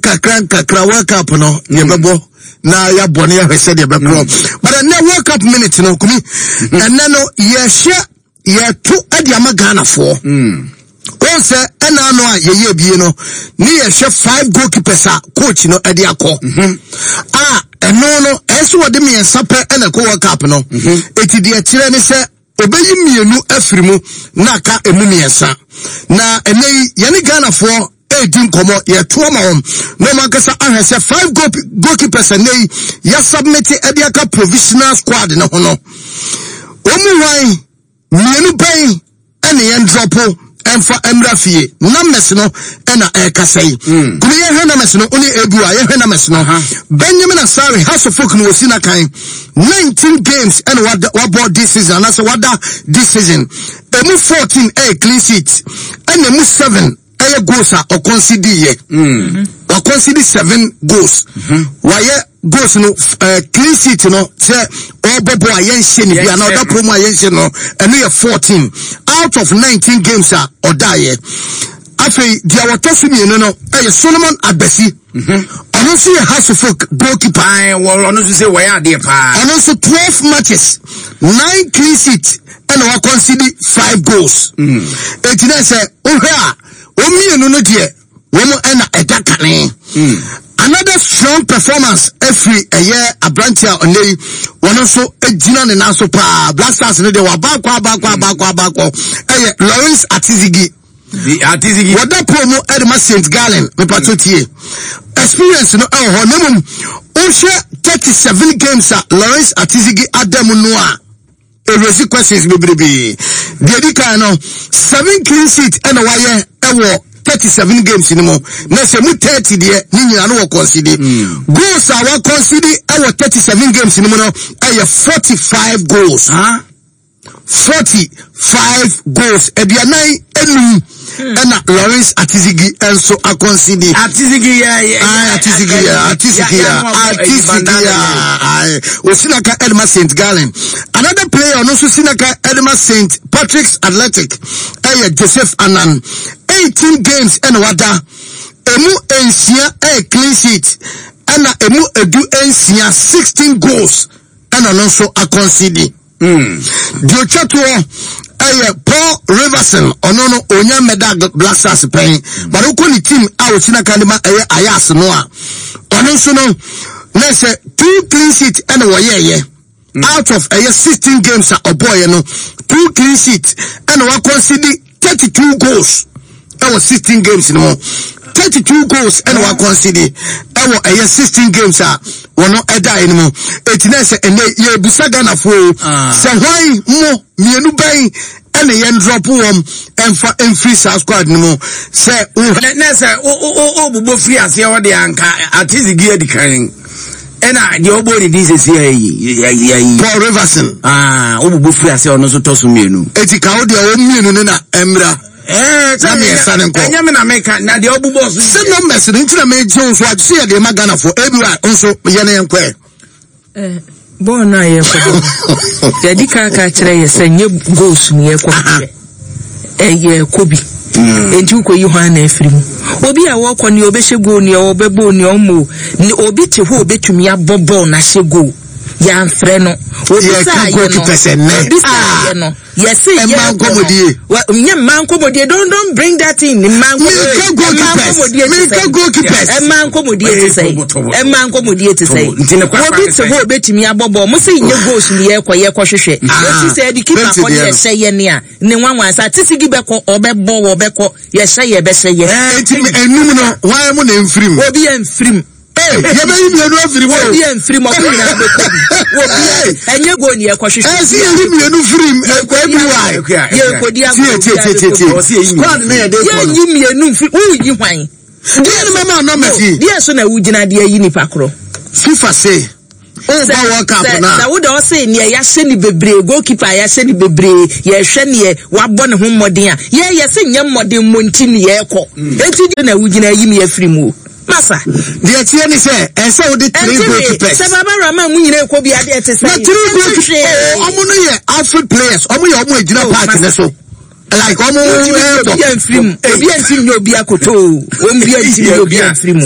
Kakra nkakra World Cup no mm. yɛbɛbɔ na yɛabɔ no yɛahwɛ sɛdeɛ ɛbɛkorɔ mm. but ɛnɛ World Cup minute no kumi mm. ɛnɛ no yɛhyɛ yɛto de ama Ghanafoɔ wɔn sɛ ɛna ano a yɛyɛ bie no ne yɛhwɛ five goalkeepers a coach no de akɔ mm-hmm. a ɛno no ɛsɛ wɔde mmiɛnsa pɛ ɛna ɛkɔ World Cup no mm-hmm. eti deɛ kyerɛ ne sɛ Obeyi mmienu afiri mu na aka emu mmiɛnsa. Na ɛnɛ yi, yɛne Ghanafoɔ redi nkɔmmɔ, yɛto ama wɔn na wɔn ankasa ahwɛ sɛ five goal goalkeepers ɛnɛ yi yɛasubmit de aka provisional squad no ho no, wɔn mu hwan mmienu bɛn ɛne yɛn drɔpo ɛmfa mmra fie. Numbers no ɛna ɛrekasa yi. Mm. Kumi yɛhwɛ numbers no, wone ebu a yɛhwɛ numbers no. Benjamin Asare, House of Folk no wɔsi n'akan. 19 games ɛna wabɔ this season anaasɛ wada this season. Emu 14 ɛyɛ clean sheet ɛna emu 7 ɛyɛ goals a ɔkɔnsidi yɛ. Mm. Wakɔnsidi 7 goals. Mm-hmm. Wayɛ goals no uh, clean sheet no sɛ ɔbɔ bɔ a yɛnhyɛ ne bi anaa ɔda pɔ mu a yɛnhyɛ no ɛno yɛ 14 out of 19 games a ɔdaeɛ afei deɛ wɔtɔ so mmienu no ɛyɛ Solomon Agbesi mhm. ɔno nso yɛ Hasselhoff goalkeeper ɔno nso sɛ wɔyɛ adeɛ paa ɔno nso 12 matches 9 clean sheet ɛna wakɔnsidi 5 goals mm. eti na sɛ wohwɛ a wɔn mmienu no deɛ wɔn na ɛda kane. Hmm. Another strong performance efiri ɛyɛ aberante a ɔnɛ yi wɔn nso gyina ne nan so paa Black Stars no deɛ wabaakɔ abaakɔ abaakɔ abaakɔ ɛyɛ Lawrence Atizigi. Atizigi. Wɔda pole mu ɛde ma St Gallen mipatso tie experience no ɛwɔ hɔ na mmom wohwɛ 37 games a Lawrence Atizigi ada mu no a. Erezi questions bebrebe. Deɛ edi kan no, seven clean sheet ɛna wayɛ ɛwɔ 37 games no mu. Na sɛ mu 30 deɛ ne nyinaa no wɔ concede. Hmm. Goals a wa concede ɛwɔ 37 games no mu no ɛyɛ 45 goals. Huh? 45 goals. Aduanan enum. Ɛna Lawrence Atizigi nso akɔnsidi. Atizigi yɛ yɛ. Ayi Atizigi yɛ Atizigi yɛ Atizigi yɛ ayi Osinaka Edema Saint Gallen. Another player ɔno nso Sinaka Edema Saint Patrick's Athletic ɛyɛ Joseph Anan. 18 games ɛna wada. Emu nsia ɛyɛ clean sheet ɛna emu edu nsia 16 goals ɛna ɔno nso akɔnsidi. Deɛ ɔtwa toɔ ɛyɛ Paul Riverson ɔno no ɔnya mmɛda Black Stars pɛn but wokɔ ne team a ɔsi n'aka de ma ɛyɛ Ajax no a ɔno nso no na sɛ two clean sheet ɛna wɔyɛɛyɛ out of ɛyɛ 16 games a ɔbɔɔyɛ no two clean sheet ɛna wakɔnsidi 32 goals ɛwɔ 16 games no mu 32 goals ɛna wakɔnsidi ɛwɔ ɛyɛ 16 games a wɔn ɛdaeɛ no mu eti na sɛ ɛnɛ yɛbusa Ghanafoɔ o ah. sɛ hwan mo mmienu bɛn ɛna yɛn drop wɔn ɛnfa ɛnfiri saa squad no mu sɛ wo. na sɛ o o o bobɔ firi aseɛ hɔ deɛ anka atizigi adi kan. Ɛna deɛ ɔbɔ ne din sɛsi ayi. Paul Riverson. Ah, wobobɔ firi ase ɔno nso tɔ so mmienu. Eti ka wo deɛ wɔn mmienu no na ɛmmra. Ɛɛ na mmiɛnsa no nkɔ. Ɛnyɛ mi na meka na deɛ ɔbobɔ so. Sɛ numbers no nti na megye wo so agye sɛ yɛde ma Ghanafoɔ ebi wa nso yɛ ne yɛn kɔɛ. Bɔɔl no a yɛrekɔbɔ no, yɛadi kan aka akyerɛ yɛ sɛ nyɛ goals no yɛrekɔ hwehwɛ. Ɛyɛ kɔ bi. Mm. Enti wokɔyi hwan na afiri mu. Obi a wɔkɔ nea ɔbɛhyɛ goal nea ɔbɛbɔ nea ɔmmɔ ne obi te hɔ ɔbɛtumi abɔ bɔɔl na ahyɛ goal. Yɛamfrɛ no. Obi saa yɛ no. Obi saa yɛ no. Yɛse yɛ mmaa nkɔmɔdie. Nyɛ mmaa nkɔmɔdie. Don't don't bring that in. Mmaa nkɔmɔdie. Mmaa nkɔmɔdie te sɛ. Goalkeepers. Mmaa nkɔmɔdie te sɛ. Mmaa nkɔmɔdie te sɛ. Obi te hɔ obetumi abɔ bɔɔl. Mo se nyɛ goals ni yɛ kɔ yɛ kɔ hwehwɛ. Eti sɛ ɛde keeper kɔ ne yɛhyɛ yɛ ne a ne nwanwa sa tisigi bɛkɔ ɔbɛbɔ wɔbɛkɔ yɛhyɛ yɛ bɛhyɛ yɛ. Eti enum no wɔn mu na nfirim. Obi yɛ nfirim. Ee, yɛbɛyi mmienu afiri mu. Obi mfiri mu, ɔmo nyinaa bɛkɔ bi. Obi ɛnyɛ goal ni ɛkɔ hwehwɛ. Ɛsi yɛyi mmienu firi mu, ɛkɔ ebi wa. Yɛkɔdi agorɔ. Tie tie tie tie. Squad ne yɛ de kɔ no. Yɛnyi mmienu mfiri, woyi hwan? Deɛ ne mɛma nɔmɛs yi. Deɛ so na wogyina deɛ ayi nipa korɔ. FIFA se. Woba World Cup no a. Sɛ wode ɔse neɛ yɛahyɛ ne bebree goalkeeper a yɛahyɛ ne bebree yɛhwɛ neɛ wabɔ ne ho mmɔden a yɛ yɛse nyɛ mmɔden mmɔ nti ne yɛkɔ mm. enti deɛ na wogyina ayi me afiri mu o masa. Deɛ teɛ ne sɛ ɛsɛ wode three goalkeepers. Sɛ baba rama mu nyina ɛkɔ bi adeɛ te sɛ. Na three goalkeepers ɔmo no yɛ outfield players ɔmo yɛ ɔmo agyina oh, park ne so. Like ɔmo Obi ɛbɔ. amfiri mu. Obi antimi nyɛ obi akoto o. Obi antimi nyɛ obi amfiri mu.